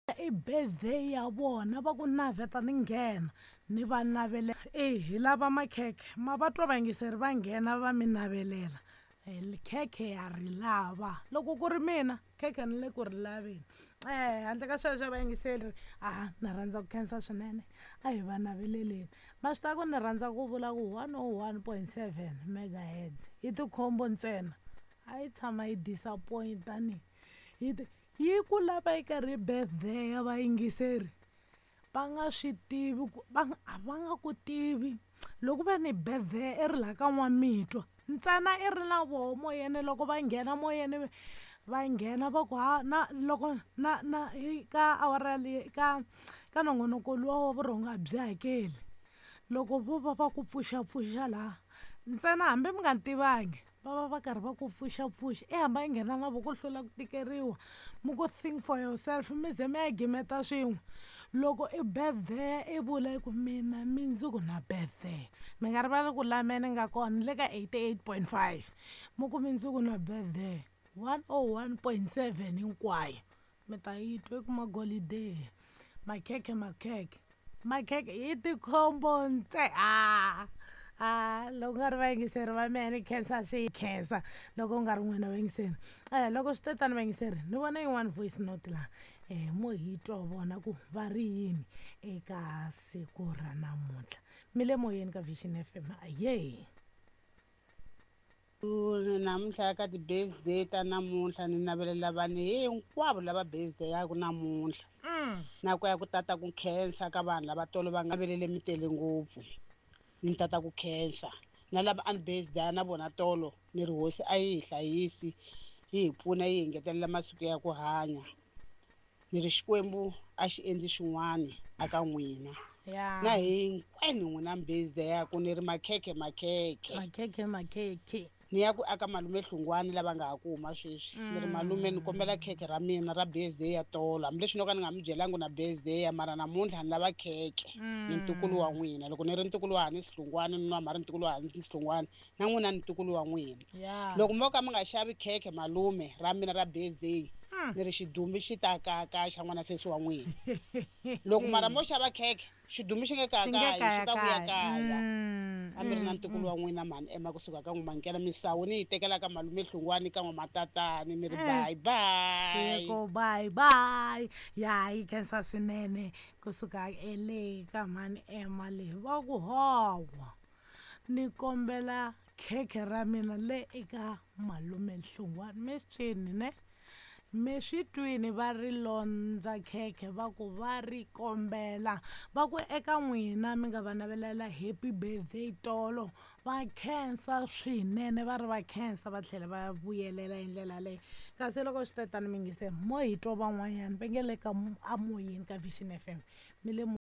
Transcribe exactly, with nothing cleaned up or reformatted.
I birthday ya vona va ku naveta ni nghena ni va navele e hi lava makhekhe ma va twa vayingiseri va nghena va mi navelela khekhe ya ri lava loko ku ri mina khekhe ni le ku ri laveni um handle ka sweswo vayingiseri a na rhandza ku khensa swinene a hi va naveleleni ma swi tiva ku ni rhandza ku vula ku one oh one point seven megahertz i tikhombo ntsena a yi tshama yi disappoint-a ni yi yi ku lava yi karhi birthday ya vayingiseri va nga swi tivi ku va a va nga ku tivi loko va ni birthday i ri laha ka n'wamitwa ntsena i ri na voho moyeni loko va nghena moyeni va nghena va ku ha na loko na na ka awara leyi ka ka nongonoko luwa wa vurhongo a byi hakeli loko vo va va ku pfuxapfuxa laha ntsena hambi mi nga ni tivangi va va va karhi va ku pfuxapfuxa i hamba i nghena na vo ku hlula ku tikeriwa mi ku think for yourself mi ze mi ya gimeta swin'we loko i birthday i vula ku mina mindzuku na birthday mi nga rivali ku la me ni nga kona ni le ka eighty eight point five mi ku mindzuku na birthday one oh one point seven hinkwayo mi ta yi twa ku magolideni makhekhe makhekhe makhekhe hi tikhombo ntse a a loko nga ri vayingiseri va mehe ni khensa swi khensa loko u nga ri n'wina vayingiseri um loko swi te tani vayingiseri ni vona yin'wani voice note laha um mo hi twa vona ku va ri yini eka siku ra namuntlha mi le moyeni ka Vision F M aye. Namuntlha ka ti-birthday ta namuntlha ni navelela vanhu hinkwavo lava birthday yaku namuntlha mm. na ku ya ku tata ku khensa ka vanhu lava tolo va nga velele mi tele ngopfu ni tata ku khensa na lava a ni birthday na vona tolo ni ri hosi a yi hi hlayisi yi hi pfuna yi hi ngetelela masiku ya ku hanya ni ri Xikwembu a xi endli xin'wana aka n'wina ya na hinkwenu n'wina birthday yaku ni ri makhekhe makhekhe. Makhekhe makhekhe. Ni ya ku aka malume Hlungwani lava nga ha ku huma sweswi ni ri malume ni kombela khekhe ra mina ra birthday ya tolo hambileswi no ka ni nga mi byelangi na birthday ya mara namuntlha ni lava khekhe ni ntukulu wa n'wina loko ni ri ntukulu wa Hanisi Hlungwani ni nwa ri ntukulu wa Hanisi Hlungwani na n'wina ni ntukulu wa n'wina ya loko mo ka mi nga xavi khekhe malume ra mina ra birthday Mm. ni ri xidumbi xi ta kaka xa n'wana sesi wa n'wina loko mara mo xava khekhe xidumbi xi nge xi nge kakayi xi ta vuya kayakayi kaya Mm, a mi ri na mm, ntukulu mm. wa n'wina mhani ema kusuka ka n'wamankela misawu ni yi tekela ka malume Hlungwani ka n'wamatatani ni ri Eh. bye bye. Yeko bye bye ya yi khensa swinene kusuka ele ka mhani ema le va ku hawa ni kombela khekhe ra mina le eka malume Hlungwani mi swi twini ne mi swi twini va ri londza khekhe va ku va ri kombela va ku eka n'wina mi nga va navelela happy birthday tolo va khensa swinene va ri va khensa va tlhela va vuyelela hi ndlela leyi kasi loko swi te tani mi yingisela mo hi twa van'wanyana va nge le ka amoyeni ka Vision F M mi le.